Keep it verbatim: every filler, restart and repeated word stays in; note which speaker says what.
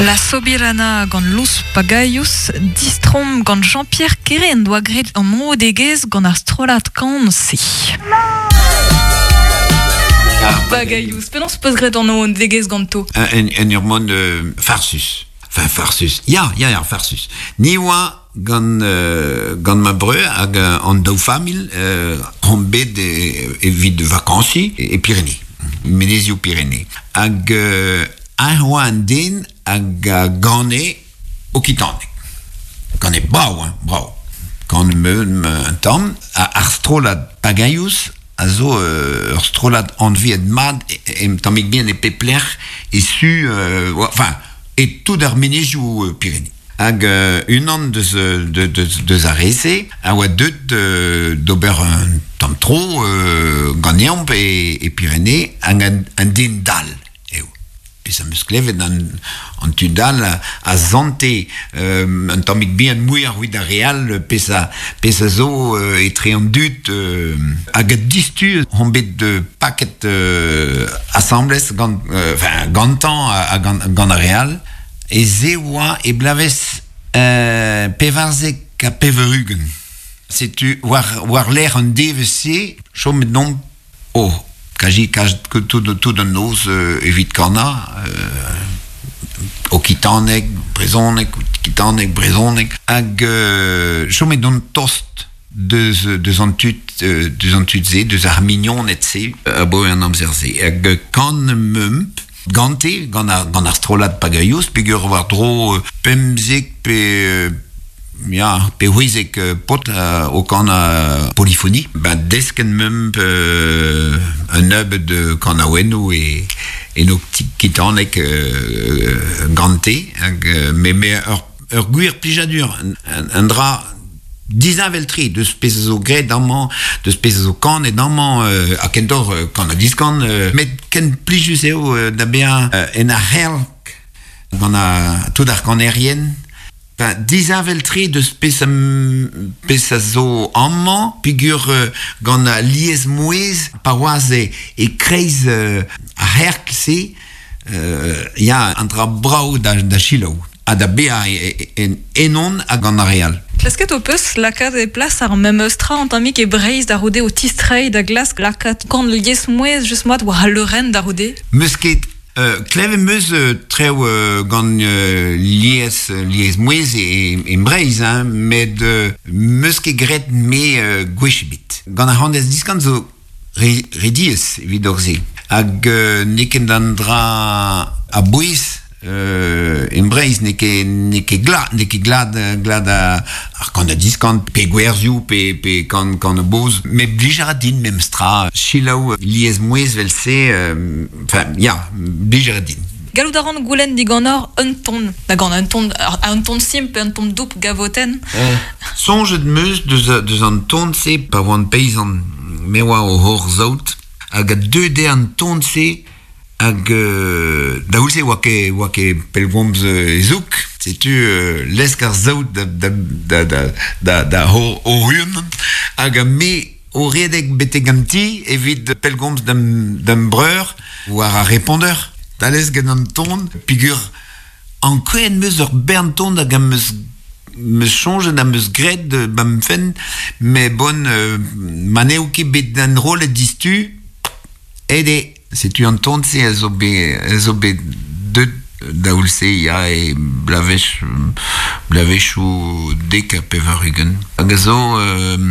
Speaker 1: La Sobirana gant Los Pagaius, distrom gant Jean-Pierre Kere en doa graet an odegez gant ar strollad kan-se. Ar Pagaius, penaos peus graet an odegez ganto?
Speaker 2: En, en ur mod euh, farsus. Enfin, farsus. Ya, ya, ya, farsus. Ni oa gant, euh, gant ma breur hag euh, an daou familh euh, hon bet e, evit vakansi e, e Pyrénées. Menezioù Pyrénées. Hag euh, un oa an den hag a gane okitanek. Gane brao, hein, brao. Gant meun un tamm, a ar strollad Pagaius a zo euh, ur strollad anviet mad e, e, tammig bien e pepler e su, euh, enfin, e tout ar menezioù euh, Pyrénées. Hag euh, unan deus, de, de, deus ar reze a oa deut euh, d'ober un tamm tro euh, ganeomp e, e Pyrénées hag an, an den dal eo. Pez am eus klevet an, an tu dal a, a zante euh, un tammig bien mouilh ar ar real pez a, pez a zo euh, etre an dud euh, hag a distu hon bet de paket euh, assemblez gant, euh, enfin, gantan a, a gant, gant ar real e ze oa e blavez euh, pevarzek a peverugen. Setu war, war l'air an D V C, chomet non, oh, kaji kaj tout, tout an noz euh, evit kana, euh, okitanek, brezonek, okitanek, brezonek, hag euh, chomet don tost deus, deus an tud, euh, deus an tud ze, deus ar mignon et se, a bo an amzer ze. Hag kan meump, gante, gant ar, gant ar strollad Pagaius, peogwir war dro euh, pemzek pe, euh, ya, pe c'hwezek euh, pot euh, o kan a polyphonie. Ba desken meump euh, un nebeud de kanaouennoù e, e no kitanek euh, gante, hag, euh, me, me ur, ur gwir plijadur, un, un, un dra disheñvel-tre deus pezh a zo graet amañ, deus pezh a zo kanet amañ, euh, ha kentoc'h euh, kan a diskan, euh, met ken plijus eo euh, da bezañ euh, en ar c'herk gant a tout ar kanerien. Enfin, disheñvel-tre deus pezh a, pezh a zo amañ, peogwir euh, gant a liez mouez, pa oaz e, e kreiz euh, ar c'herk-se, euh, ya an dra brao da, da selaou. Ha da bezañ e, e, en enon hag an ar real.
Speaker 1: Klasket ho peus lakaat e plas ar memes tra an tammig e Breizh da roude o tistrei da glask lakaat kant liez mouez just moat war al leurenn da roude?
Speaker 2: Meus ket euh, klevet meus euh, trev euh, gant euh, liez, liez mouez e, e, e Breizh, hein, met euh, meus ket graet me euh, gwech ebet. Gant ar c'handez diskan zo re, rediez evit hor se. Hag euh, n'eo ket an dra a bouez Euh, en Breizh n'eo ket, n'eo ket glad, n'eo ket glad, glad a, ar kan a diskant, pe gwerzioù, pe, pe kan, kan a boz, me blij a ra din memes tra, selaou liez mouez vel se, euh, enfin, ya, blij a ra din.
Speaker 1: Gallout a ran goulenn digant un ton, da gant un ton, un ton simpl, un ton doup gavoten.
Speaker 2: Euh, soñjet meus deus, deus an ton se pa oan peizant, me oa o hor zaout, hag a deux de an ton se, hag euh, da oulse oa ket, oa ket pellgomz euh, e zouk, setu euh, lesk ar zaout da, da, da, da, da, da hor, hor un, hag a me o redek betek an ti evit pellgomz d'am, d'am breur war ar répondeur. Da lesk gant an ton, peogwir an kwen meus ur bern ton hag am meus meus soñjet am meus graet de bam fenn, me bon euh, ma n'eo ket bet d'an rôle distu, ede setu an ton se a zo bet, a zo bet deut da oulse ya e blavech, blavechoù dek ha pevar-ugent. Hag a zo euh,